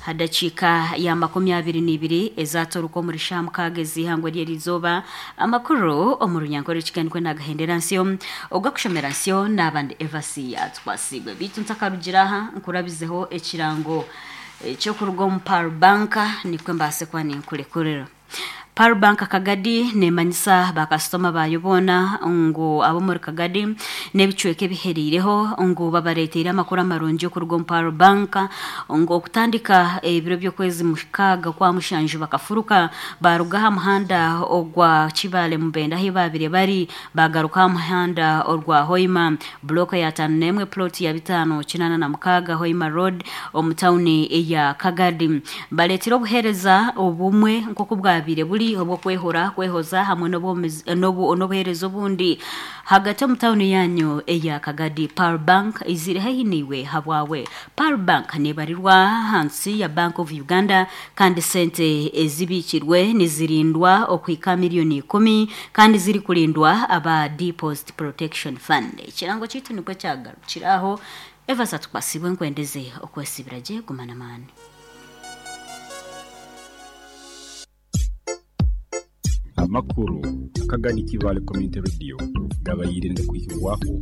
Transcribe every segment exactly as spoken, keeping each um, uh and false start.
Hadakiika ya makumi abiri n'ibiri ezatoruka omuri sha mukaaga ez'ihangwe ry'erizooba. Amakuru omu runyankore kiganikwe nagahendera nsyo ogakushomera nsyo n'abandi Evasi Atukwasibwe. Bitu ntakarugira aha, nkurabizeho ekirango ekyokuruga omu Pearl Bank, nikwe mbaase kuba ninkurekurira. Pearl Bank Kagadi nemanyisa bakasitoma bayo boona ngu ab'omuri Kagadi n'ebicweka ebiheriireho ngu babareeteire amakuru amarungi okuruga omu Pearl Bank, ngu okutandika ebiro by'okwezi mukaaga kwa mushanju bakafuruka baruga aha muhanda ogwa Kibale Mubende ahi babire bari, bagaruka aha muhanda orwa Hoima, block ya tano n'emwe, plot ya bitaano kinaana na mukaaga, Hoima Road, omu tawuni eya Kagadi. Bareetire obuheereza obumwe nk'oku bwabire buri obw'okwehora, kwehoza hamwe n'obuheereza obundi hagati omu tawuni yanyu eya Kagadi. Pearl Bank izire haihi niiwe habwawe. Pearl Bank nebarirwa ahansi ya Bank of Uganda, kandi sente ezibikirwe nizirindwa okuhika miliyoni ikumi, kandi zirikurindwa aba Deposit Protection Fund. Ekirango kyaitu nikwo kyagarukiraho. Evasa Tukwasibwe, nkwendeze okwesibira gye, gumana amaani. Amakuru Akagadi Kibale Community Radio gabayire ngakwihibwaho.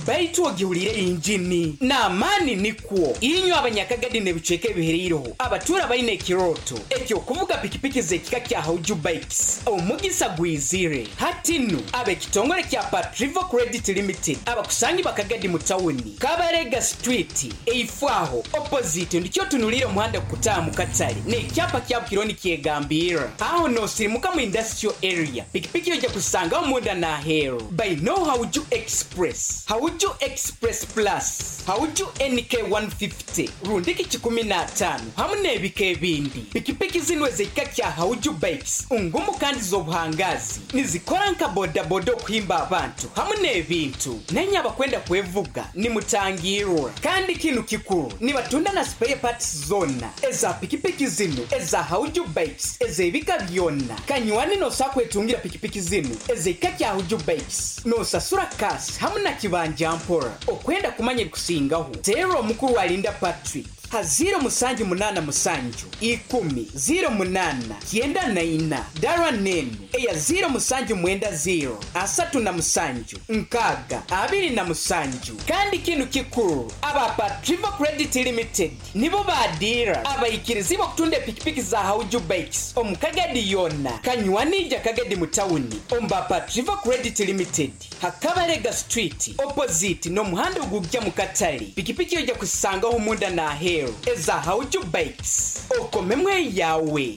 Baitu ogiwulire injini n'amaani nikwo inywe abanyakagadi n'ebicweka ebihereireho abatura baine ekiroto ekyokuvuga pikipiki z'ekika kya Hauju Bikes, omugisa gwizire hatinu. Ab'ekitongole kya Patrivo Credit Limited abakusangi bakagadi mu tawuni Kabarega Street, eifwaho opposite ndikyo tunulire omuhanda kukutaaha mu katale n'ekyapa kya Bukironi kyegambira aho nosirimuka mu industrial area. Pikipiki ojja kusangaho munda n'aheeru baino Hauju Express, Hauju Express Plus, Hauju N K one fifty, rundiki kikumi n'ataano hamu n'ebika ebindi. Pikipiki zino ez'ekika kya Hauju Bikes ngumu kandi z'obuhangazi, nizikora nka bodaboda okuhimba abantu hamu n'ebintu. Nenye abakwenda kwevuga nimutangirwa. Kandi kinu kikuru, nibatunda na spare parts zona eza pikipiki zino eza Hauju Bikes ez'ebika byonna. Kanywani, nosobola kwetungira pikipiki zino ez'ekika kya Hauju Bikes nosasura cash hamu na kibanja mpora. Okwenda kumanya ebikusingaho, teera omukuru Alinda Patrick ha ziro musanju munaana musanju ikumi ziro munaana kyenda na ina, dara nenu eya ziro musanju mwenda ziro asatu na musanju nkaaga abiri na musanju. Kandi kinu kikuru, aba Patrivo Credit Limited nibo badira abaikirizi okutunda epikipiki za Hauju Bikes omu Kagadi yonna. Kanywanija Kagadi mu tawuni omu Patrivo Credit Limited Hakabarega Street, opposite n'omuhanda ogujja mu katale. Pikipiki ojja kusangaho munda n'aheeru eza Hauju Bikes, okomemwe yawe.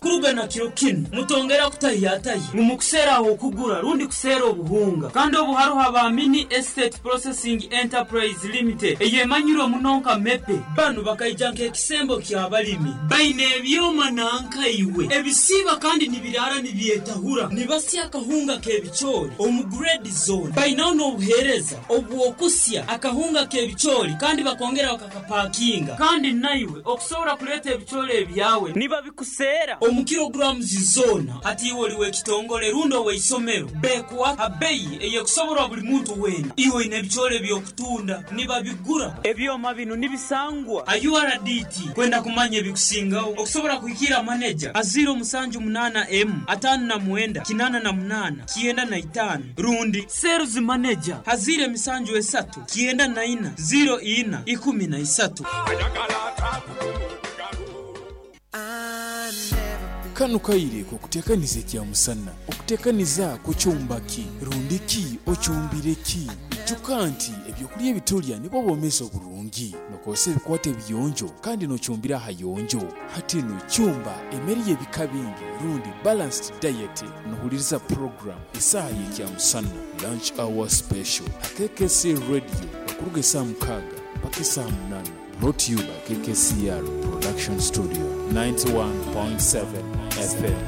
Kurugana kiro kinu mutongera kutahiyatahi mumukuseera okugura rundi kuseera obuhunga, kandi obu haruho aba Mini Estate Processing Enterprise Limited eyemanyirwe muno nka MEPE. Banu bakaija nk'ekisembo ky'abalimi. Baine ebyoma nankaiwe ebisiiba kandi nibirara nibyetahura, nibasya akahunga k'ebicoori omu grade zone. Bainaho n'obuheereza obw'okusya akahunga k'ebicoori kandi bakongera bakakapakinga, kandi naiwe okusobora kuleeta ebicoori ebyawe nibabikuseera omu kilograms zona. Hati iwe oli w'ekitongole rundi ow'eisomero, bekuwa abeyi eyekusoborwa buli muntu weena. Iwe oine ebicoori eby'okutunda, nibabigura. Ebyoma bino nibisangwa a U R D T. Kwenda kumanya ebikusingaho, okusobora kuhikira maneja a ziro musanju munaana m ataano na mwenda kinaana na munaana kyenda na itaano, rundi sales manager ha ziro emisanju esatu kyenda na ina ziro ina ikumi na isatu. Kano kaire kokutekaniza ekyamusana. Okutekaniza kucyumbaki rundiki ocyumbire ki? Ijuka nti ebyokulya ebitulya nibwo bwomezi oburungi. Nokozesa ebikwate ebiyonjo kandi nocyumbira ahayonjo. Hati no cyumba emere y'ebika bingi rundi balanced diet. Nohuliriza program esaaha y'ekyamusana, Lunch Hour Special, ha K K C Radio, okuruga esaaha mukaaga mpaka esaaha munana. Brought to you by K K C R Production Studio, ninety-one point seven F M.